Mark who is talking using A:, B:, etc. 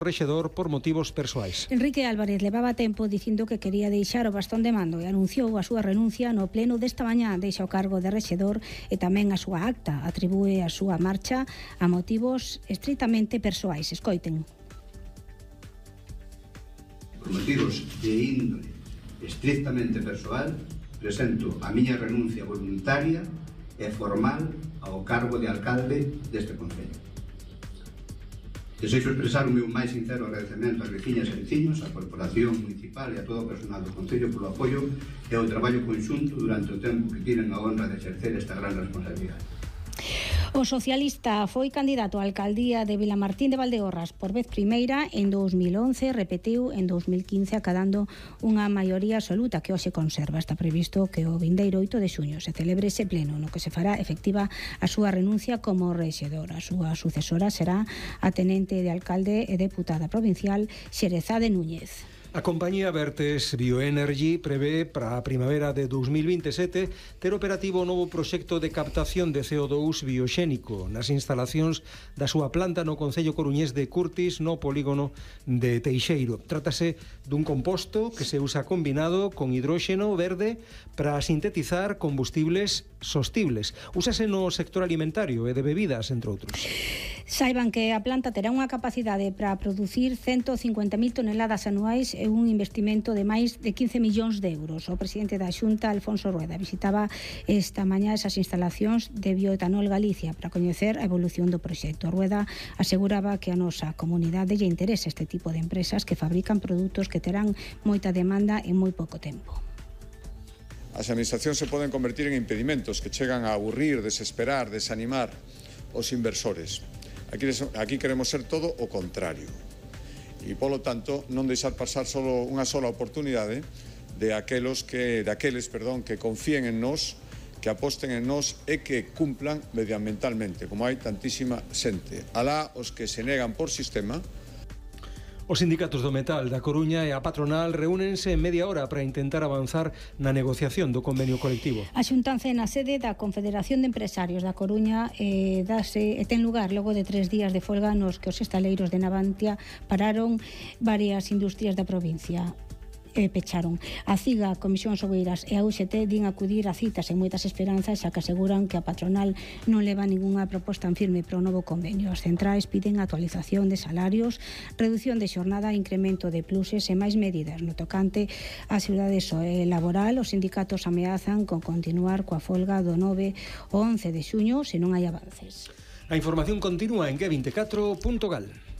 A: rexedor por motivos persoais.
B: Enrique Álvarez levaba tempo dicindo que quería deixar o bastón de mando e anunciou a súa renuncia no pleno desta mañá. Deixa o cargo de rexedor e tamén a súa acta. Atribúe a súa marcha a motivos estritamente persoais. Escoiten.
C: Por motivos de índole estrictamente persoal, presento a miña renuncia voluntaria e formal ao cargo de alcalde deste concello. Desexo expresar o meu máis sincero agradecemento ás veciñas e veciños, á Corporación Municipal e a todo o personal do Concello polo apoio e o traballo conxunto durante o tempo que tiven a honra de exercer esta gran responsabilidade.
B: O socialista foi candidato á alcaldía de Vilamartín de Valdeorras por vez primeira en 2011, repetiu en 2015 acadando unha maioría absoluta que hoxe conserva. Está previsto que o vindeiro 8 de xuño se celebre ese pleno no que se fará efectiva a súa renuncia como rexedora. A súa sucesora será a tenente de alcalde e deputada provincial Xerezade Núñez.
A: A compañía Vertes Bioenergy prevé para a primavera de 2027 ter operativo o novo proxecto de captación de CO2 bioxénico nas instalacións da súa planta no concello coruñés de Curtis, no polígono de Teixeiro. Trátase dun composto que se usa combinado con hidróxeno verde para sintetizar combustibles sostibles. Úsase no sector alimentario e de bebidas, entre outros.
B: Saiban que a planta terá unha capacidade para producir 150.000 toneladas anuais e un investimento de máis de 15 millóns de euros. O presidente da Xunta, Alfonso Rueda, visitaba esta mañá esas instalacións de Bioetanol Galicia para coñecer a evolución do proxecto. Rueda aseguraba que a nosa comunidade lle interesa este tipo de empresas que fabrican produtos que terán moita demanda en moi pouco tempo.
D: As administracións se poden convertir en impedimentos que chegan a aburrir, desesperar, desanimar os inversores. Aquí queremos ser todo o contrario. E, polo tanto, non deixar pasar unha sola oportunidade de aqueles que confíen en nós, que aposten en nós e que cumplan medioambientalmente, como hai tantísima xente. Alá os que se negan por sistema.
A: Os sindicatos do metal da Coruña e a patronal reúnense en media hora para intentar avanzar na negociación do convenio colectivo.
B: A xuntanza na sede da Confederación de Empresarios da Coruña ten lugar logo de 3 días de folga nos que os estaleiros de Navantia pararon varias industrias da provincia. Pecharon. A CIGA, Comisións Obreiras e a UGT din acudir a citas en moitas esperanzas, xa que aseguran que a patronal non leva ningunha proposta en firme para o novo convenio. As centrais piden actualización de salarios, reducción de xornada, incremento de pluses e máis medidas no tocante á seguridade laboral. Os sindicatos ameazan con continuar coa folga do 9 ao 11 de xuño se non hai avances.
A: A información continúa en G24.gal.